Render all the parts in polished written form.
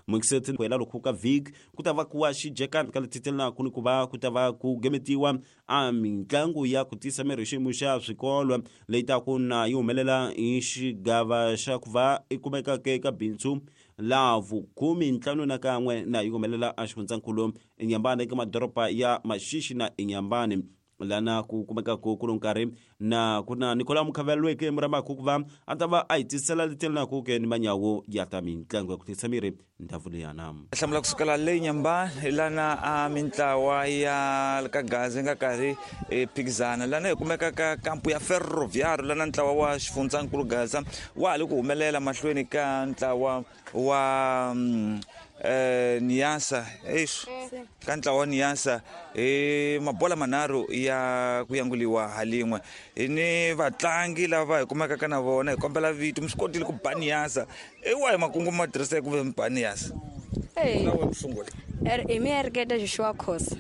Mukiseti ku hela loko ka vhiki ku ta va ku wa xijekani ka letitelanaku ni ku va ku ta va ku gemetiwa a mitlangu ya ku tisa miri hi xiyimo xa swikolo leyi taku na yi humelela hi xigava xa ku va i kumekaka eka bindzu la vukhume ntlhanu na kan'we na yi humelela exifundzankulu eNyambane eka madoroba ya Maxixi na eNyambane lana ku kumekaka ku ri nkarhi na ku na Nicola Mukhavelweke Muramaku ku va a ta va a hi tisela leti ke ni manyawo ya ta mitlangu ya ku tisa miri ndhavu leyana. Hlamula kusukela le Nyambani lana a mintlawa ya ka Gaza yi nga karhi e phikizana lana hi kumeka ka kampu ya Ferroviário lana ntlawa wa xifundzankulu Gaza wa ha le ku humelela mahlweni ka ntlawa wa Niasa eish ka ntlawa wa Niasa hi mabola manharhu ya ku yanguliwa ha lin'we hi ni vatlangi lava hi kumekaka na vona hi kombela vito mi swi kotile ku ba Niasa i wahi makungu ma tirhiseke ku ve mi ba Niasa? Sungula hi mi ereketa Joshua Khosa.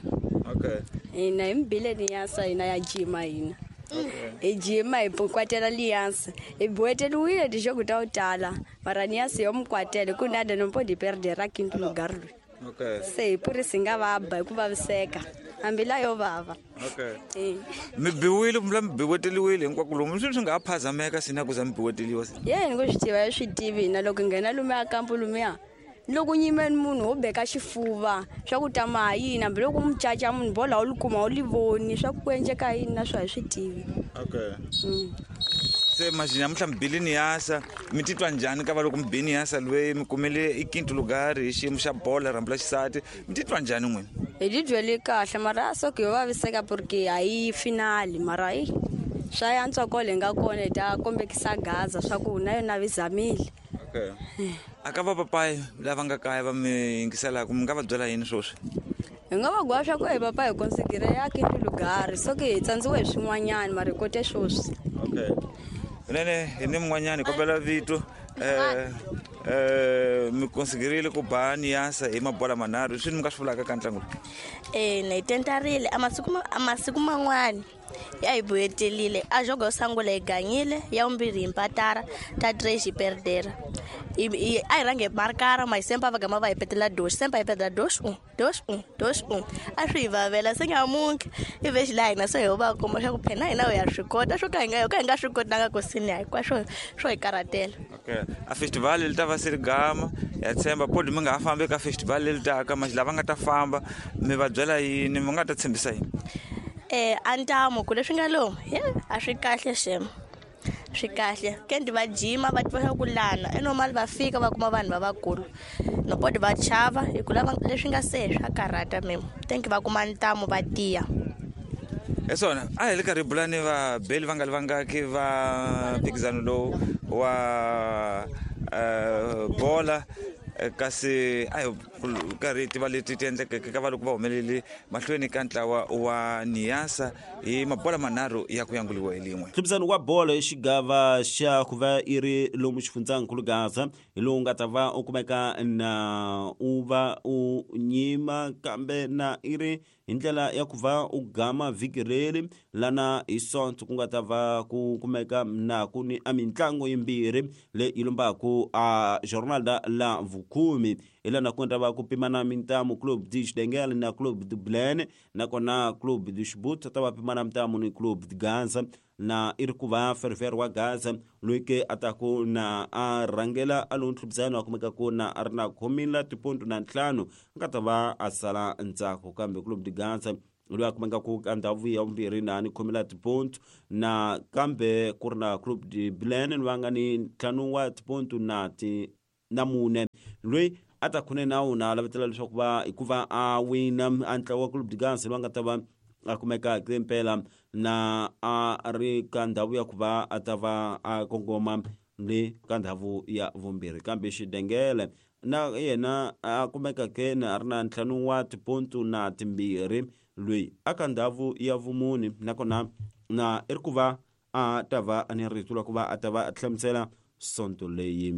Okay. Hina hi mi bile Niasa, hina ya jima, hina hi jima hi kwatela Liansa, hi buweteriwile tixoku ta ku tala, mara Niasa yo mi kwatela ku nada no pode perder a quinto lugar loyi. Okay. Se hi purisi nga va ba hi ku vaviseka hambi la yo vava. Okay. Mi biwile kumbe mi biweteliwile hinkwako lomu swi nga ha phazameka sina ku za mi biweteliwa? Ye ni ku swi tiva, swi tivi hina loko hi nghena lumiya kampu lumiya loko nyimeni munhu wo beka xifuva swa ku tama ha yini, hambi loko mu caca munhu bola wu li kuma wu li voni swa ku endleka yini na swo hi swi tivi. Okay. Se manje namuntlha mi bile Niasa, mi titwa njhani ka va loko mi bi Niasa loyi mi kumile i quinto lugar hi xiyimo xa bola rhambu la xisati, mi titwa njhani n'wina? Hi tibyeli kahle, mara a soke yo vaviseka porque a yi finali, mara yi swa yantswa kole hi nga kona hi ta kombekisa Gaza swa ku na yona vi zamile. Okay. A ka va papayi lava nga kaya va mi yingiselaka, mi nga va byela yini sweswi? Hi nga va gwa swa ku hi papa hi konsigire ya quinto lugar, so ke hi tsandziwe hi swin'wanyana mara hi kote sweswi. Okay. Nene hi ni mun'wanyana, hi kombela vito. Mi konsigirile ku ba Niasa hi mabola manharhu, swi ni mi nga swi vulaka ka ntlangu lowu? Na hi tentarile a masiku a masiku man'wani ya hi buyetelile a jogo yo sungula hi ganyile, ya vumbirhi hi mpatara, ta tres hi perdera. A hi rhange hi markara ma hi sempa va gama va hi petela dos, sempa hi petela dos un, dos un, dos un, a swi hi vavela se nyamuntlha i vexi laha hina se ho va kuma swa ku phela hina ho ya swi kota swo ka hi nga ho ka hi nga swi kotanga ku sini hinkwaswo swo hi karhatela. Okay. A festival li ta va se ri gama ya tshemba podi mi nga ha fambi eka festival leri taka manje lava nga ta famba mi va byela yini, mi nga ta tshembisa yini? A ntamu ku leswi nga lomu ye a swi kahle xem, swi kahle kendi va jima va tiva ku lana i normal va fika va kuma vanhu lavakulu no podi va chava hi ku lava leswi nga se swa karhata mem thank va kuma ntamu va tiya. Hi swona a hi le karhi hi bula ni vabeli va nga li vangaki va mphikizano lowu wa bola, kasi a hi karhi hi tiva leti ti endlekeke ka va loko va humelele mahlweni ka ntlawa wa Niasa hi mabola manharhu ya ku yanguliwa hi lin'we. Mphikizano wa bolo hi xigava xa ku va i ri lomu xifundzankulu Gaza hi lowu nga ta va u kumeka na u va u nyima kambe na i ri hi ndlela ya ku va u gama vhiki reri lana hi Sonto ku nga ta va ku kumeka na ku ni a mitlangu yimbirhi leyi yi lombaku a jornada la vukhume hi lana ku nga ta va ku pimana mintamu Club de Xidengele na Club de Blen, nakona Club de Xibut ta va pimana mintamu ni Club de Gaza, na i ri ku va Ferver wa Gaza loyi ke a ta ku na a rhangela a lowu ntlhubisano a kumeka ku na a ri na khomila tipontu na ntlhanu a nga ta va a sala ndzhaku, kambe Club de Gaza loyi a kumeka ku ka ndhawu ya vumbirhi na ni khomela tipontu, na kambe ku ri na Club de Blen va nga ni ntlhanu wa tipontu na ti na mune loyi a ta khune nawu na lavetela leswaku va hikuva a wina a ntlawa wa Club de Gaza loyi a nga ta va a kumeka hi mpela na a ri ka ndhawu ya ku va a ta va a kongoma le ka ndhawu ya vumbirhi, kambe Xidengele na yena a kumeka ke na a ri na ntlhanu wa tipontu na timbirhi loyi a ka ndhawu ya vumune, nakona na i ri ku va a ta va ni rito ra ku va a ta va a hlamusela sonto leyi.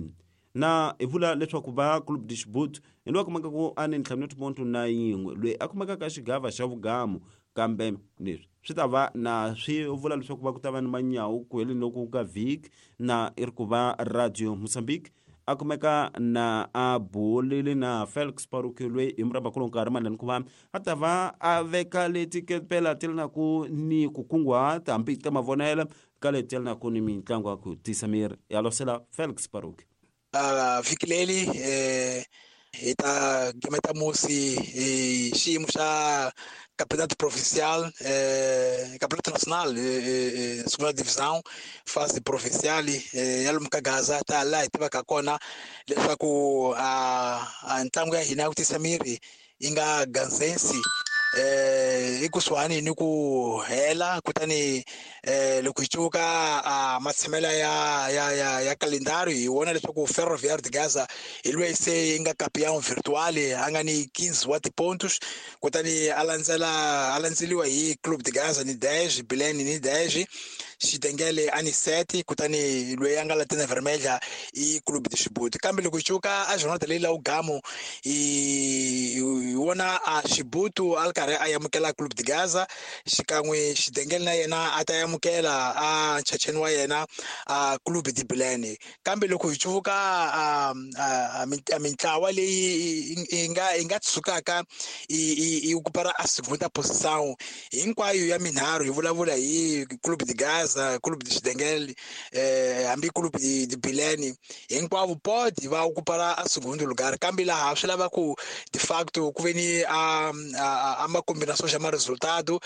Na hi vula leswaku va Club de Xibut hi loyi a kumeka ku a ni ntlhanu wa tipontu na yin'we loyi a kumekaka ka xigava xa vugamu, kambe leswi swi ta va na swi vula leswaku va ku ta va ni manyawu ku heleni loku ka vhiki na i ri ku va Radio Mozambique. A kumeka na a bulile na Felix Paruki loyi hi murabakulu nkarhi manani ku va a ta va a veka leti kepela ti ri na ku ni ku kunguhata hambi ta mavonelo ka leti ri na ku ni mitlangu ya ku tisa miri ya losela Felix Paruki. Vhiki leri hi ta gimeta musi hi xiyimo xa Campeonato Provincial, Campeonato Nacional, Segunda Divisão, fase provincial ya lomu ka Gaza ta laha hi tivaka kona leswaku a ntlangu ya hina ya ku tisa miri yi nga Gazensi ekusuhani ni ku hela. Kutani loko hi cuka a matshamela ya kalendari, hi vona leswaku Ferroviário de Gaza hi loyi se yi nga campeão virtual, a nga ni 15 wa tipontos, kutani a landzela a landzeliwa hi Clube de Gaza ni 10, Bilene ni 10, Xidengele a ni 7, kutani loyi a nga Lanterna Vermelha i Clube de Chibuto. Kambe loko hi cuka a jornada leyi la ugamo, hi vona a Chibuto a ri karhi a amukela Clube de Gaza xikan'we Xidengele na yena a ta amukela a nchacheni wa yena a Clube de Bilene. Kambe loko hi cuvuka a mintlawa leyi yi nga tshukaka yi okupara a segunda posição hinkwayo ya minharhu, hi vulavula hi Clube de Gaza, Clube de Xidengele, hambi Clube de Bilene, hinkwavo pode va okupara a segundo lugar. Kambe laha swi lava ku de facto ku ve ni a ma combinação ya ma resultado,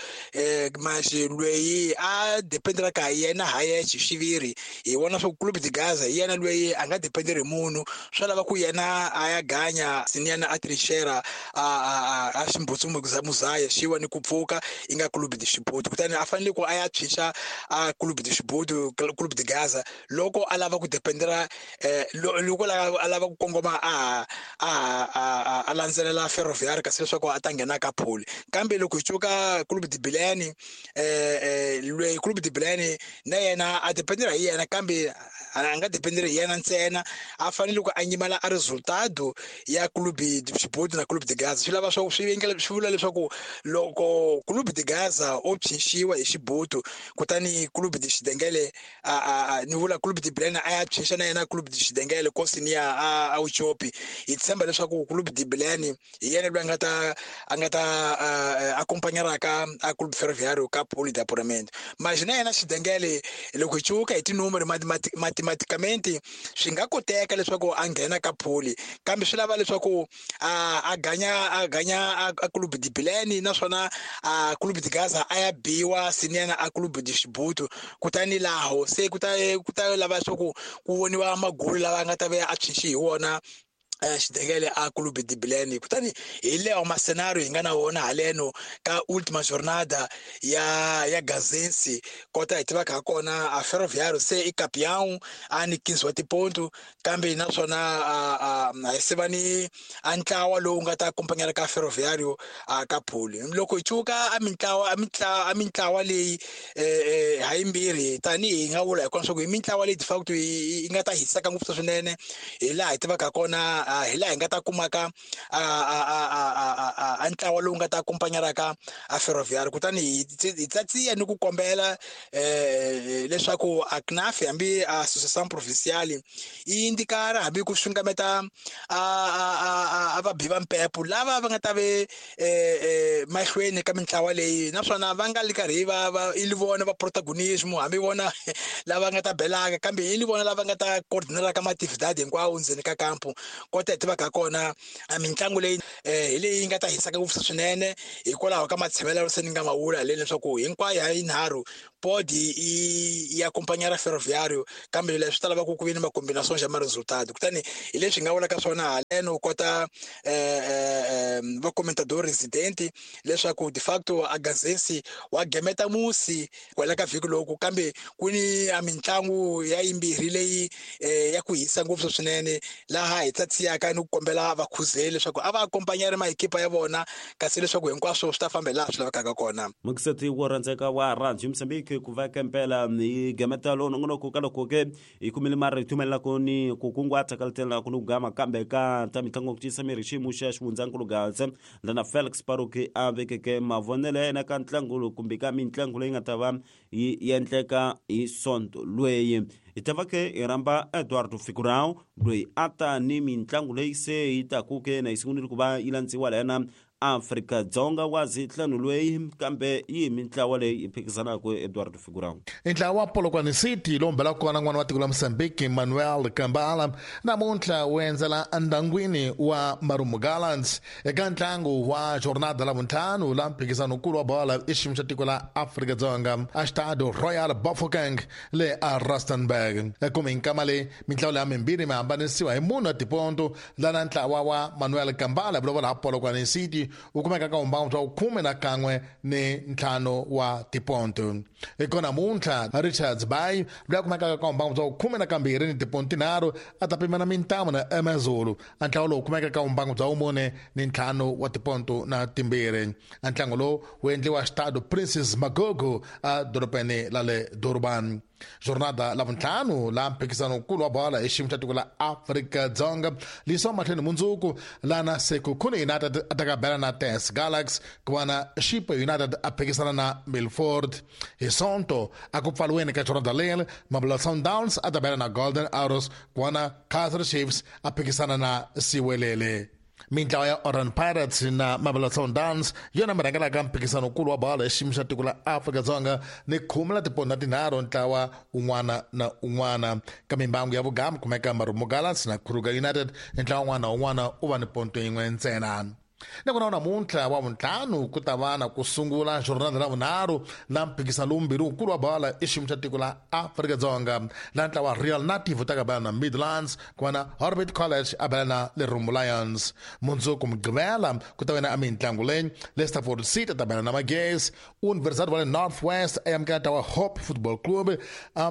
mas loyi a dependeraka hi yena ha yexe xiviri, hi vona swa ku Clube de Gaza hi yena loyi a nga dependeri hi munhu. Swi lava ku yena a ya ganya siniyana a trinchera a ximbutsu muzaya xiwa ni ku pfuka yi nga Clube de Chibuto, kutani a fanele ku a ya tshwinxa a Clube de Chibuto, Clube de Gaza, loko a lava ku dependera, loko a lava ku kongoma a landzelela Ferroviário kasi leswaku a ta nghena ka pole. Kambe loko hi cuka Clube de Bilene, loyi Clube de Bilene na yena a dependera hi yena, kambe a nga dependeri hi yena ntsena, a fanele ku a nyimela a resultado ya Clube de Chibuto na Clube de Gaza. Swi lava swa swi endla swi vula leswaku loko Clube de Gaza o phyinxiwa hi Xibuto, kutani Clube de Xidengele a ni vula Clube de Bilene a ya phyinxa na yena Clube de Xidengele kosini ya a Uchopi, hi tshemba leswaku Clube de Bilene hi yena loyi a nga ta acompanharaka a Clube Ferroviário ka pole de apuramento. Mas na yena Xidengele, loko hi cuka hi tinumero, matematicamente swi nga koteka leswaku a nghena ka pole, kambe swi lava leswaku a ganya a Clube de Bilene, naswona a Clube de Gaza a ya biwa siniyana a Clube de Chibuto, kutani laho se ku ta lava leswaku ku voniwa magulu lawa nga ta ve a tshwinxi hi wona Xidengele a Clube de Bilene. Kutani hi leyo macenário hi nga na wona haleno ka última jornada ya Gazensi. Kota hi tivaka ha kona, a Ferroviário se i campeão, a ni 15 wa tiponto, kambe naswona a hi se va ni a ntlawa lowu nga ta acompanhar ka Ferroviário a ka pole. Loko hi cuka a mintlawa leyi ha yimbirhi, tanihi hi nga vula hi kona swa ku hi mintlawa leyi de facto yi nga ta hiseka ngopfu swinene, hi laha hi tivaka kona, hi laha hi nga ta kumaka a ntlawa lowu nga ta acompanharaka a Ferroviário. Kutani hi tsatsiya ni ku kombela leswaku a CNAF hambi a Associação Provincial yi indikara hambi ku xungameta a vabi va mpepo lava va nga ta ve mahlweni ka mintlawa leyi, naswona va nga li karhi va i li vona va protagonismo, hambi vona lava nga ta belaka, kambe i li vona lava nga ta coordinaraka maatividade hinkwawo ndzeni ka kampo. Kota hi tivaka kona, mitlangu leyi hi leyi yi nga ta hisaka ngopfu swinene hikwalaho ka matshembelo se ni nga ma vula leyi leswaku hinkwayo ya yinharhu pode yi acompanhar Ferroviário, kambe leswi ta lava ku ku ve ni macombinação ya ma-resultado. Kutani hi leswi hi nga vulaka swona haleno kota va comentador residente leswaku de facto a Gazensi wa gemeta musi kwala ka vhiki loku, kambe ku ni a mitlangu ya yimbirhi leyi ya ku hisa ngopfu swinene, laha hi tsatsiyaka ni ku kombela vakhuzeli leswaku a va acompanhar maekipa ya vona kasi leswaku hinkwaswo swi ta famba hi laha swi lavekaka kona. Mukiseti wo rhandzeka wa Radio Mozambique. ke ku va kempela hi gemeta lowu nongonoko ka loko ke hi kumile marito mayelana ni ku kunguhata ka letela ku ni ku gama kambe ka ta mitlangu ku tiyisa miri xiyimo xa xivundzankulu Gaza lana Felix Paroki a vekeke mavonelo ya yena ka ntlangu lowu kumbe ka mitlangu leyi nga ta va yi endleka hi sonto lweyi. Hi ta va ke hi rhamba Eduardo Figurão loyi a ta ni mitlangu leyi se yi taku ke na yi sungurile ku va yi landziwa layana Afrika-Dzonga wa zitlhanu lweyi kambe yi hi mintlawa leyi yi phikizanaka Eduardo Figurão. Ntlawa wa Polokwane City lowu mbelaka kona n'wana wa tiko la Mozambique Manuel Kambala namuntlha wu endzela endangwini wa Marumo Gallants eka ntlangu wa jornada la vuntlhanu la mphikizano-nkulu wa bola i xiyimo xa tiko la Afrika-Dzonga a Stadio Royal Bafokeng le a Rustenburg. Kumbe nkama leyi mintlawa leya mimbirhi mi hambanisiwa hi munhu wa tiponto lana ntlawa wa Manuel Kambala vulavula ha Polokwane City wu kumeka ka vumbangu bya khume na kan'we ni ntlhanu wa tiponto. Eka namuntlha Richards Bay loyi a kumekaka ka vumbangu bya khume na kambirhi ni tiponto tinharhu a ta pimana mintamu na Amazulu. A ntlawa lowu kumeka ka vumbangu bya vumune ni ntlhanu wa tiponto na timbirhi. A ntlangu lowu wu endliwa Stade Princess Magogo a dorobeni la le Durban. Jornada la vuntlhanu la mphikizano-nkulu wa bola hi xiyimo xa tiko la Afrika-Dzonga liyisiwa mahlweni mundzuku lana Sekhukhune United a ta ka bela na TS Galaxy ku va na Chippa United a phikisana na Milford. Hi Sonto a ku pfaliweni ka jornada leri Mamelodi Sundowns a ta bela na Golden Arrows ku va na Kaizer Chiefs a phikisana na Siwelele. Mintlawa ya Orlando Pirates na Mamelodi Sundowns yona mi rhangelaka mphikizano-nkulu wa bolo hi xiyimo xa tiko la Afrika-Dzonga ni khume la tiponto na tinharhu ntlawa un'wana na un'wana. Ka mimbangu ya vugamu kumeka Marumo Gallants na Kruger United ntlawa un'wana na un'wana u va ni ponto yin'we ntsena. Nakona namuntlha wa vuntlhanu ku ta va na ku sungula jornada la vunharhu la mphikizano lowumbirhi wukulu wa bola i xiyimo xa tiko la Afrika-Dzonga la ntlawa Real Native wu ta ka bela na Midlands ku va na Orbit College a bela na Lerumo Lions. Mundzuku Mugqivela ku ta va na a mintlangu leyi Leicesterford City a ta bela na Magesi, University wa le North West a amukela ntlawa Hope Football Club,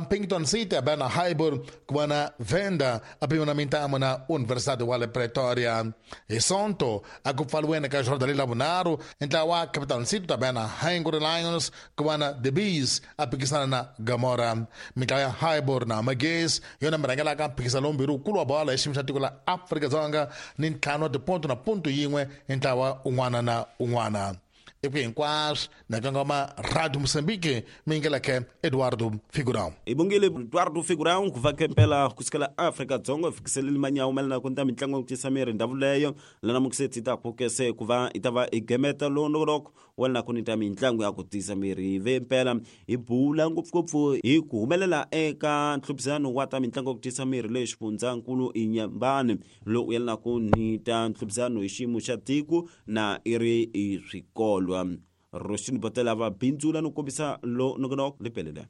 Pinkerton City a bela na Highbury ku va na Venda a pimiwa na mintamu na University wa le Pretoria. Hi Sonto a ku pfaliweni ka jornada leyi la vunharhu ntlawa wa Capital City ta bela na Hungry Lions ku va na The Bees a phikisana na Gamora. Mintlawa ya Highbury na Magesi yona mi rhangelaka mphikizano lowumbirhi wukulu wa bola hi xiyimo xa tiko la Afrika-Dzonga ni ntlhanu wa tiponto na ponto yin'we hi ntlawa un'wana na un'wana. Eku hinkwaswo na kangoma Radio Mozambique mi yingeleke Eduardo Figurão. Hi bongile Eduardo Figurão ku va kempela kusukela Afrika-Dzonga hi fikiseleli manyawu mayelana ku ta mitlangu ya ku tisa miri ndhawu leyo lana mukiseti ta kukese ku va hi ta va hi gemeta lowu nongonoko wa lana ku ni ta mitlangu ya ku tisa miri hi ve mpela hi bula ngopfungopfu hi ku humelela eka nhluphisano wa ta mitlangu ya ku tisa miri leyi xifundzankulu Inyambani lowu yelanaka ni ta nhluphisano hi xiyimo xa tiko na i ri i swikolwa Roxini Botela va bindzula no kombisa lo nongonoko lepelele.